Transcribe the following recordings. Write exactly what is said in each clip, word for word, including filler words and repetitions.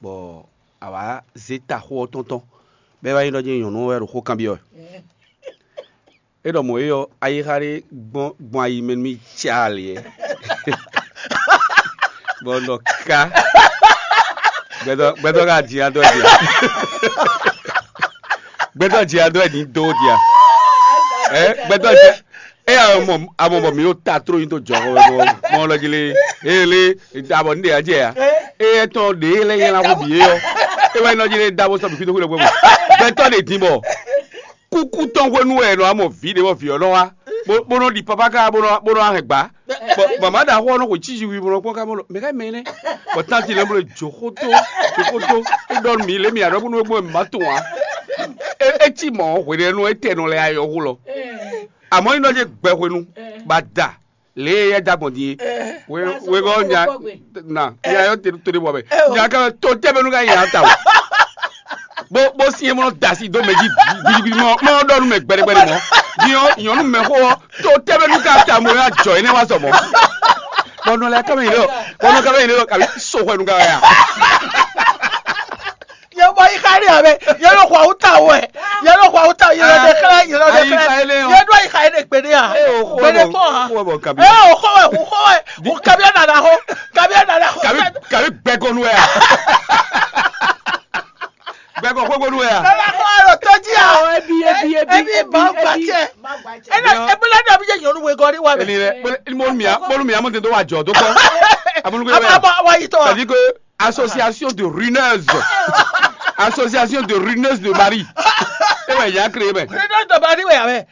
Bɔ a wǎ zé taxó ɔ́ tɔn tɔn, bɔ é wá nyí ɖɔ jɛ́n nyɔ̌nu ɔ́ wɛ ɖo xó kanbyɔ́ wɛ. É ɖɔ mɔ̌ é ɔ́, ayixa ɖé gbɔn gbɔn ayi mɛ nú mì caalɛ. Bɔ un ɖɔ ká gbɛtɔ́ gbɛtɔ́ ka jǐ adó wɛ din a? Gbɛtɔ́ jǐ adó wɛ din dó din a? Ɛ gbɛtɔ́ jɛ ɛ a mɔ a mɔ bɔ mi ɖo ta tró nyi tó jɔ xɔ wɛ mɔ lɔ jí lé. Eye lé abɔ ní ɖe a jɛ ya. Eye tɔn ɖe lɛ nyɛ la xɔ bǐ é ɔ́. E wɛ nɔ jí lé da bó sɔ bǐ fí dó xwé ɖo gbɛmɔ. Gbɛtɔ́ ɖe din bɔ kúkú tɔn hwenu wɛ nɔ amɔ vǐ ɖe bɔ vǐ ɔ́ nɔ wá bó nɔ ɖi papa ká bó nɔ bó nɔ hɛn gbá. Bɔ mama ɖaxó ɔ́ nɔ xwe cíziwi bó nɔ kpɔ́n ká bó nɔ mɛ ká mɛ nɛ́. Bɔ tánti lɛ́ɛ bó nɔ jǒ xótó jǒ xótó. É ɖɔ nú mǐ lé mǐ aɖɔ bó nɔ gbɔn mǐ ma tunwun ǎ. É é cí mɔ̌ hweɖénu étɛ́nɔ lɛ́ɛ ayɔ́ hu lɔ. Àmọ́ nyí nɔ jẹ́ gbɛ hwenu ba da lě e é da gbɔn din é. Wegɔ́ nya na nya yɔ te to ɖe bɔ mɛ. Nya ká to tɛ́ bɛnu ká nya ta o. Bó bó sin e mɔ da si dó mɛ jí gbidibidi mɔ mɔ ɖɔ nu mɛ gbɛɖɛgbɛɖɛ mɔ. Din ɔ́ nyɔnu mɛ xó ɔ́ to tɛ́ bɛnu ká ta mo ya jɔ énɛ́ wá sɔ mɔ. Bɔnɔ lɛ kɛmɛ yi lɔ bɔnɔ kɛmɛ yi lɔ kabi so hwɛ nu ka ya. Yɛ bɔ yi xa ɖe abɛ yɛ lɔ xɔ awuta wɛ yɛ lɔ xɔ awuta yɛ lɔ de xlɛ yɛ lɔ de xlɛ yɛ do yi xa yi ɖe gbeɖe a gbeɖe kpɔ ha ɛ o xɔ wɛ o xɔ wɛ o kabi nana xɔ kabi nana xɔ kabi kabi gbɛkɔnu wɛ a gbɛkɔ kpokponu wɛ a. Nana xɔ alo tɔji a ebi ebi ebi ebi ba gba cɛ ena ebile dɔ bi jɛ nyɔnu wegɔ ni wa mɛ. Ni lɛ bolo ni bolo mia bolo mia mo te do wa jɔ do kɔ. Amunu ko yɛ. Aba wa yi tɔ. C'est-à-dire que association de ruineuses. Association de ruineuses de mari. E wɛ ya créé mɛ. Ruineuses de mari wɛ ya mɛ.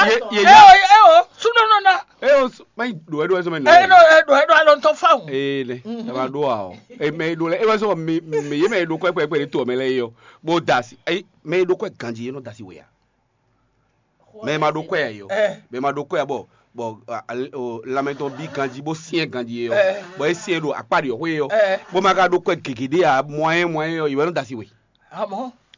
Ye ye ya. Ewo ewo sunɔ nɔ na. E o ma yi do e do e sɔmɛ nɔ. E do e do e do alɔ ntɔ fa o. Ee ne e ma do wa o. E mɛ e do lɛ e wɛ sɔ mi mi ye mɛ e do kɔ ekpɛ ekpɛ de to mɛ lɛ yi o. Bo da si. Ayi mɛ e do kɔ ganji e nɔ da si wɛ ya. Mɛ e ma ɖó kwɛ ǎ é ɔ́, mɛ e ma ɖó kwɛ ǎ bɔ bɔ lanmɛ tɔn bí ganjí bó syɛ́n ganjí é ɔ́, bɔ é syɛ́n ɖo akpá ɖě ɔ́ xwé é ɔ́, bó ma ka ɖó kwɛ gěgé ɖé ǎ, mɔ̌yɛ́ mɔ̌yɛ́ ɔ́, è wɛ nɔ da si we.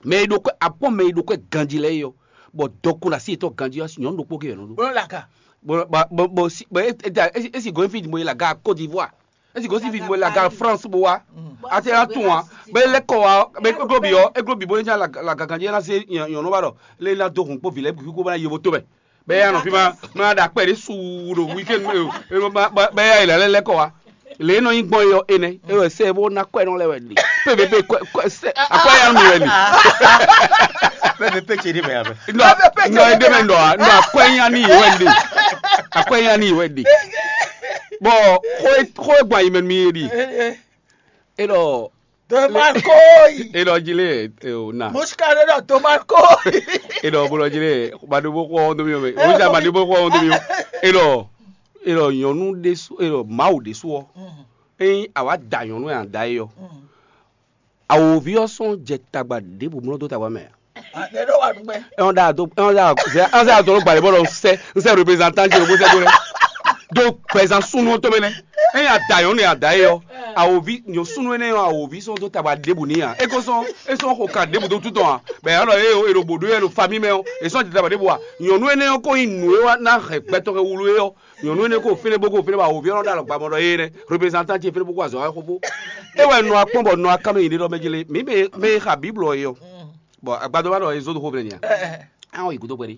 Mɛ e ɖó kwɛ akpɔ́n mɛ e ɖó kwɛ ganjí lɛ́ɛ é ɔ́, bɔ dɔkun ɖo así yětɔn ganjí ɔ́, nyɔ̌nu ɖokpó ké wɛ nɔ ɖó. Bó nɔ ɖo aga. Bɔ bɔ bɔ si bɔ é é é si gɔ̌n fí mo yi le aga Côte d'Ivoire. Esi gosí fi mo la gare France bó wá. Ati la tún wa. Bɛ lɛ kɔ wa bɛ eglo bi ɔ eglo bi bó ne la la gangan jɛ la se yɔn nɔ ba dɔ le la do hun kpo vi lɛ bi kó bá ye bo to bɛ. Bɛ ya nɔ fi ma ma da kpɛ de su ɖo weekend bɛ ya yi la lɛ lɛ kɔ wa. Le nɔ nyi gbɔn yɔ enɛ e wɛ sɛ bó na kɔɛ nɔ lɛ wɛ li. Pe bɛ pe kɔɛ kɔɛ sɛ akɔɛ ya mi wɛ li. Bɛ bɛ pe tse de bɛ ya bɛ. Nɔ nɔ ede mɛ nɔ a nɔ akɔɛ ya ni yi wɛ li. Akɔɛ ya ni yi wɛ li. Bɔ xó e xó e gbɔn ayi mɛ nú mì é ɖi. É ɖɔ Tomakoyi. É ɖɔ jí lé o na. Muska ɖé ɖɔ Tomakoyi. É ɖɔ bó ɖɔ jí lé maɖó bó xɔ ɔ́n dó mì mɛ. Ó jà maɖó bó xɔ ɔ́n dó mì. É ɖɔ é ɖɔ nyɔnu ɖésú é ɖɔ Mawu ɖésú ɔ́. Ényí àwa da nyɔnu e a da é ɔ́. Awǒvi ɔ́ sɔ́ jɛ tagba ɖěbǔ mlɔ́ dó tagba mɛ ǎ. Ɛ ɔ́ ɖa do ɛ ɔ́ ɖa zɛ ɔ́ zɛ adɔ ló gbalɛ bɔ lɔ sɛ n sɛ représentante ló sɛ do lɛ do gbɛzan súnú ɔ́ tɔmɛ nɛ ɛ yà da yɔn ne yà da yɛ ɔ awòvi nyɔ súnú ɛnɛ ɔ awòvi sɔn do tagba ɖěbǔ ní a é ko sɔn é sɔn xo ka ɖěbǔ dó tútɔ a bɛ yà lɔ eye o ero bò ɖó yɛ ɖo fami mɛ ɔ é sɔn jɛ tagba ɖěbǔ a nyɔnu ɛnɛ ɔ ko nyi nǔ e wa ná hɛn gbɛtɔ kɛ wulu é ɔ nyɔnu ɛnɛ ko fɛnɛ bó ko fɛnɛ bó awòvi ɔnɔ ɖo alɔ gbamɔ ɖɔ eye nɛ représentante fɛnɛ bó ko azɔ wa xo bó e wɛ nɔ akpɔn bɔ nɔ akamɛ yi ɖe ɖɔ mɛ jele mi mɛ xa bible ɔ yɔ Bon, agbadɔ wa ɖɔ e zó ɖo xó vlɛ nia. An yi gúdo kpɛɖi.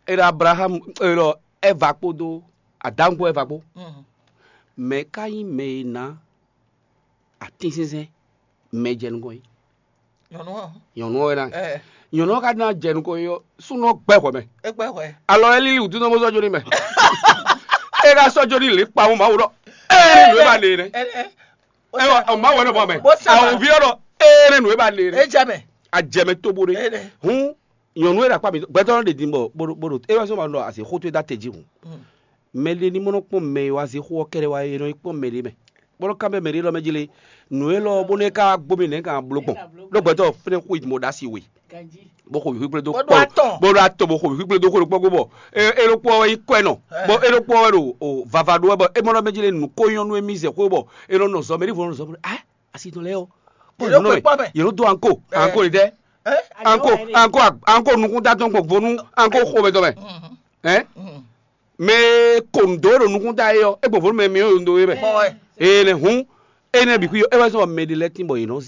E ɖo Abraham e ɖɔ Ɛva kpódó Adamu kpó Ɛva kpó. Mɛ ka nyí mɛ e ná atínsínsɛ́n mɛ jɛ nukɔn yi? Nyɔnu ɔ́. Nyɔnu ɔ́ wɛ ná. Nyɔnu ɔ́ ka ná jɛ nukɔn yi ɔ́, súnnu ɔ́ gbɛ hwɛ mɛ. É gbɛ hwɛ. Alɔ ɛ lílí wǔtú nɔ́ bó sɔ́ jó ní mɛ. É ká sɔ́ jó ní lě kpawun Mawu ɖɔ. Ɛ nǔ e ba le nɛ. Ɛ wɔ Mawu wɛ nɔ bɔ mɛ. Awòvi ɔ́ ɖɔ. Ɛ nɛ nǔ e ba le nɛ. É jɛ mɛ. Ajɛmɛ tobo ɖe. Hun nyɔnu e ɖo akpá mi gbɛtɔ ɖe din bɔ bó ɖo é wá sɔ ma ɖɔ azě xótó e dó atɛ jí hǔn. Mɛ ɖé ní mɔ nɔ kpɔn mɛ e wá zé xó ɔ́ kɛ́ɖɛ́ wá é nɔ yi kpɔn mɛ ɖé mɛ. Bó nɔ kanbyɔ́ mɛ ɖé lɔ mɛ jlé nǔ élɔ́ bónú é ká gbó mì nɛ̌ kan bló gbɔn. Ɖó gbɛtɔ fɛnɛ xó yi mɔ ɖó asi we. Bó xo wǐxwíxwé dó kpɔ́ bó ɖó atɔ bó xo wǐxwíxwé dó xó ɖokpó gbó bɔ é é ɖokpó ɔ́ wɛ yi kɔ́ ɛ nɔ. Bɔ é ɖokpó ɔ́ wɛ ɖo o vava ɖó wɛ bɔ é mɔ ɖɔ mɛ jlé nǔ ko nyɔ́ nú émí zɛ xó bɔ é nɔ nɔ zɔ mɛ ɖěvo nɔ zɔ mɛ ɖɔ ah asi tɔn lɛ́ɛ ɔ́ kpɔ́ nǔ nɔ mɛ yě nɔ dó anko anko ɖi tɛ anko anko anko nukúnta tɔn gbɔn vo nú anko xomɛ tɔn mɛ. Ɛn mɛ e ko nǔ dó ɖo nukúnta é ɔ́ é gbɔn vo nú mɛ myɔ ɖo ndo é mɛ. Ee nɛ hǔn énɛ́ bǐ xwí ɔ́ é wɛ zɔ́n bɔ mɛ ɖé lɛ́ɛ tín bɔ yě nɔ zé